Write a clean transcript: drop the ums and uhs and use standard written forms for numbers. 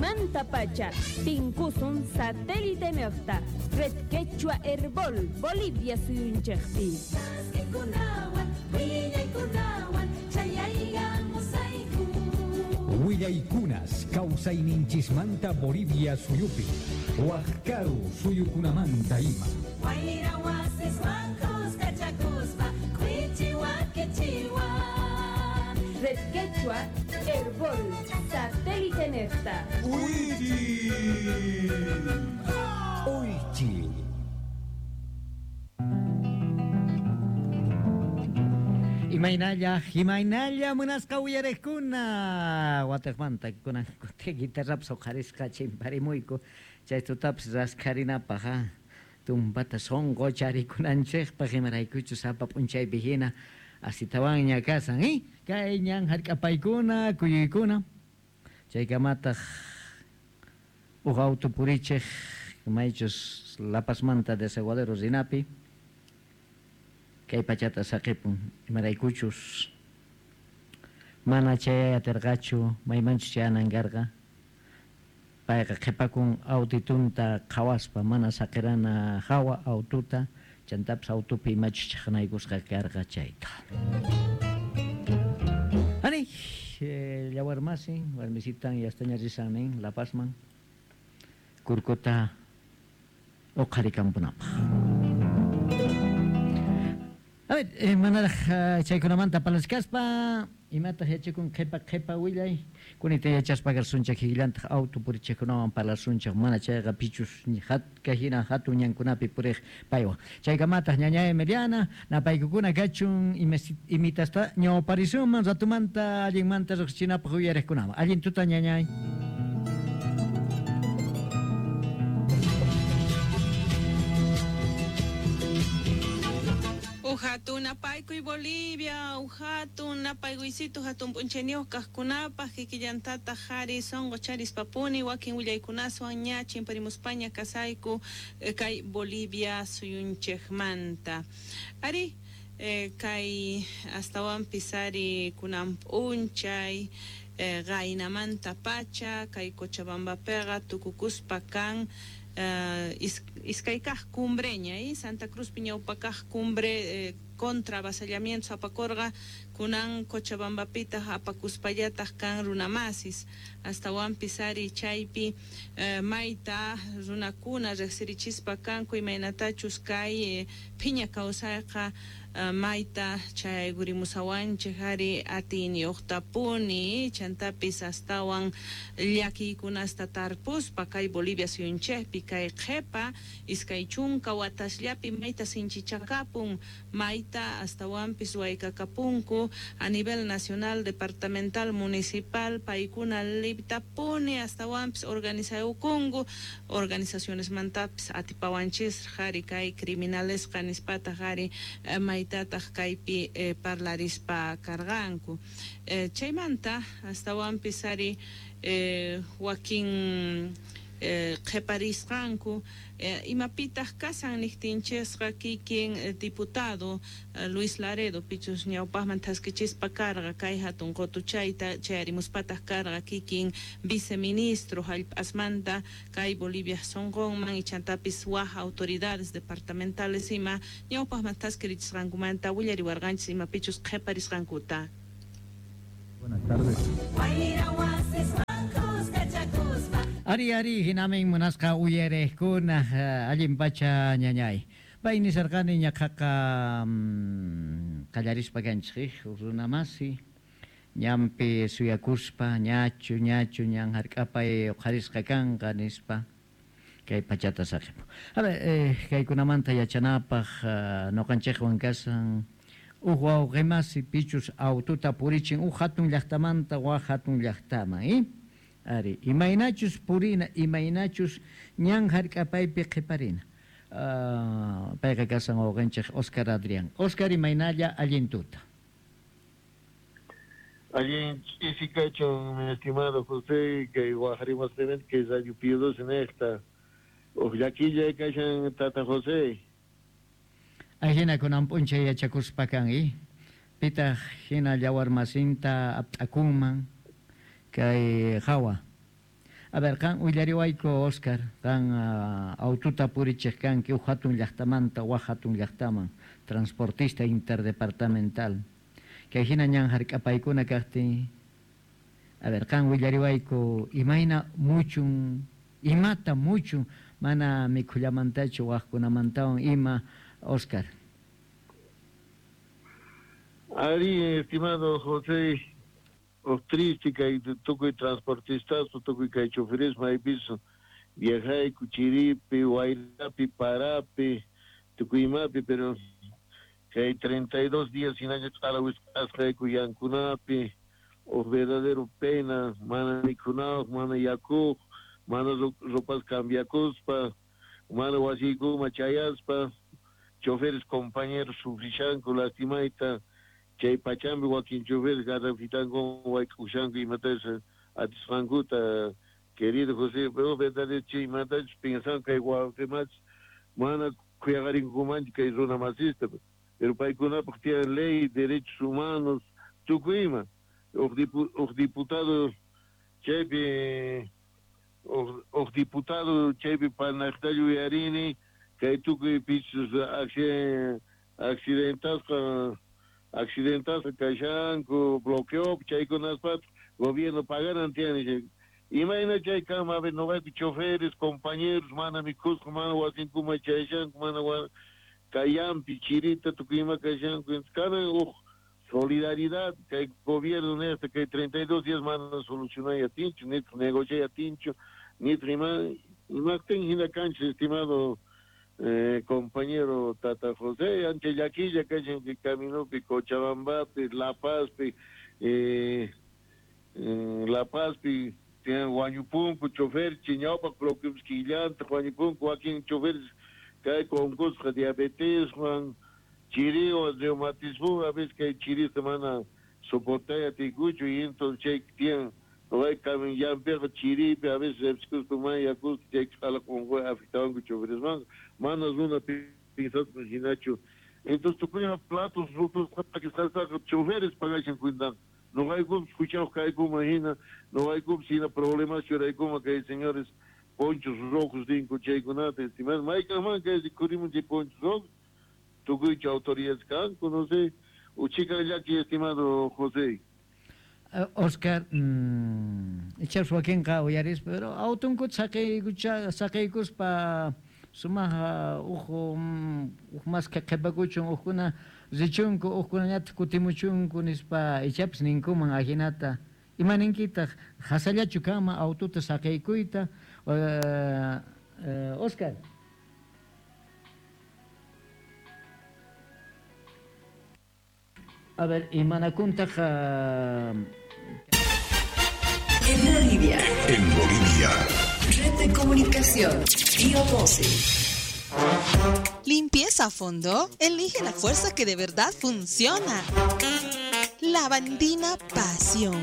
Kunanmantapacha tinkusun satélite niqta Red Quechua Herbol Bolivia suyunchikpi. Willaykunas kawsayninchismanta Bolivia suyupi, wak karu suyukunamanta ima. Wayra wasiswan kuskachakuspa kwichiwa kichiwa. Red Quechua Herbol satélite niqta. Uychi. Imaynalla, imaynalla munasqa uyariqkuna watiqmanta kunan kuti guitarrapas huqarisqa chimparimuyku chay tutapas raskharinapaq tumpata sunqu charikunanchikpaq imaraykuchus sapa p'unchaypi hina asitawanña kasan kay ñan hark'apaykuna kuyuykuna chaykamataq huk auto purichiq maychus La Pazmanta Desaguadero rinapi kay pachata saqipun imaraykuchus mana chay atirqachu maymanchus chayanan karqa payqa qhipakun autitunta qhawaspa mana saqirana hawa aututa chantapis autupi imachus chaqnaykusqa karqa chayta. Ani llawarmasi warmisitan yastaña risan nin La Pazman kurkuta uqharikampunapaq. A ver, manaraq chaykunamanta parlachkaspa imataq yachakun qhipa qhipa willay kunita yachaspa karsunchik kikillantaq auto purichikkunawan parlasunchik mana chayqa pichus hina hatun ñankunapi puriq paywan chaykamataq ñañay Emiliana napaykukuna kachun imitasta ñawparisunman ratumanta allinmanta riqsichinapaq uyariqkunaman allin tuta ñañay. Uhatun napaykuy Bolivia, uhatun napaykuysitu hatun p'unchayniyuq kaqkunapaq kikillantataq qhari sunqu charispapuni wakin willaykunaswan ña chimparimuspaña kasayku kay Bolivia suyunchikmanta. Ari kay astawanpis ari kunan p'unchay qaynamanta pacha kay Cochabambapiqa tukukuspa kan iskay kaq cumbreña Santa Cruzpi ñawpa kaq cumbre contra avasallamientos apakurqa kunan Cochabambapitaq apakuspallataq kan runamasis astawanpis ari chaypi mayta runakuna riqsirichispa kanku imaynatachus kay phiña kawsayqa mayta chaygurimusawanchik ari atiyniyuqtapuni chantapis astawan llakiykunasta tarpuspa kay Bolivia suyunchikpi kay qhipa iskay chunka watasllapi mayta sinchichakapun mayta astawanpis waykakapunku a nivel nacional, departamental, municipal paykuna liptapuni astawanpis organizayukunku organizacionesmantapis atipawanchisraq ari kay criminalesqa nispataq ari maytataq kaypi parlarispa karqanku chaymanta astawanpis ari wakin qhiparisqanku imapitaq kasan niqtinchisqa kikin diputado Luis Laredo pichus ñawpaqman thaskichispa karqa kay hatun qutuchayta chayarimuspataq karqa kikin viceministro hallp'asmanta kay Bolivia sunqunman ichantapis waj autoridades departamentales ima ñawpaqman thaskirichisqankumanta willariwarqanchis imapichus qhiparisqankuta. Buenas tardes. Ari ari hinamin munasqa uyariqkuna allin pacha ñañay. Pay nisarqani ñaqaqa qallarispa kanchik runamasi ñanpi suyakuspa ñachu ñachu ñan hark'apay uqharisqa kanqa nispa kay pachata saqipu. A ver, kaykunamanta yachanapaq ñuqanchikwan kasan huk wawqimasi pichus aututa purichin huk hatun llaqtamanta wak hatun llaqtaman, Ari, imaynachus purina, imaynachus ñan hark'apaypi qhiparina. Payqa kasan wawqinchik Oscar Adrián. Oscar, imaynalla allin tuta. Allin ch'isi kachun, mi estimado José, kay waqrimasqamanta kay Radio Pío 12 niqta. Uq llakilla kashan tata José. Ahina kunan p'unchay yachakuspa kan, Pitaq hina llawarmasinta apt'akunman kay hawa. A ver, qan willariwayku Oscar, qan aututa purichiq kanki huk hatun llaqtamanta wak hatun llaqtaman, transportista interdepartamental. Kay hina ñan hark'apaykuna kaqtin, a ver, qan willariwayku imayna muchun, imata muchun, mana mikhullamantachu waqkunamantawan ima, Oscar. Ari, estimado José, triste kay tukuy transportistas, tukuy kay choferes maypis viajayku chiripi, wayrapi, parapi, tukuy imapi, pero kay 32 días hinaña q'ala wisq'asqayku yankunapi, huk verdadero pena, mana mikhunawaq, mana yakuq, mana ropas cambiakuspa, mana wasiykuma chayaspa, choferes compañeros sufrishanku lastimayta, chay pachampi wakin choferes garrafitanku wayk'ushanku imatachus atisqankuta, querido José, pero verdadero chay imatachus pensan kay wawqimachu mana khuyaqarinkumanchu kay runa masista, pero paykunapaq tiyan ley, derechos humanos, tukuy ima. Huk diputado chaypi, huk diputado chaypi panaqta yuyarini, kay tukuy pichus accidentasqa kashanku, bloqueo, chaykunaspa gobierno paganan tiyan. Imayna chay kanman, a ver, noqayku choferes, compañeros, mana mikhusqa, mana wasinkuma chayashanku, mana kayampi, chirita, tukuy ima kashanku. Kanan huk solidaridad kay gobierno nesta kay 32 días mana solucionay atinchu, nitaq negociay atinchu, nitaq ima imaqtin hina kanchis, estimado compañero Tata José, ancha llakilla kashan kay caminopi, Cochabambapi, La Pazpi, La Pazpi, tiyan wañupunku chofer, ñawpaq bloqueos killanta wañupunku, wakin choferes kay unqusqa diabeteswan, chiriwan, reumatismo, a veces kay chirista mana soportay atikuchu, y entonces chay tiyan noqayku llampiqa chiripi, a veces ripsikuspa mana yakuspa chay q'ala unquy afectawanku choferesmanqa, mana runa pinsaspa hinachu. Entonces tukuyma platos rotos p'akisqastaqa choferes pagashan cuentanqa. Noqaykupas huchayuq kaykuman hina, noqaykupas hina problemas churaykuma kay señores ponchos rojos ninku chaykunata, estimado, maykaqman kay rikhurimun chay ponchos rojos, tukuychu autoridades kanku, no sé, uchikan llaki, estimado José. Oscar, ichapas wakinqa uyarispa, pero autunkuta saqiykuspa sumaq huk maskha qhipakuchun, hukkuna richunku, hukkunañataq kutimuchunku nispa ichapas ninkuman ahinata. Ima ninkitaq hasallachu kanman aututa saqiykuyta, Oscar? A ver, imanakuntaq En Bolivia. En Bolivia. Red de comunicación. Pío 12. Limpieza a fondo. Elige la fuerza que de verdad funciona. Lavandina Pasión.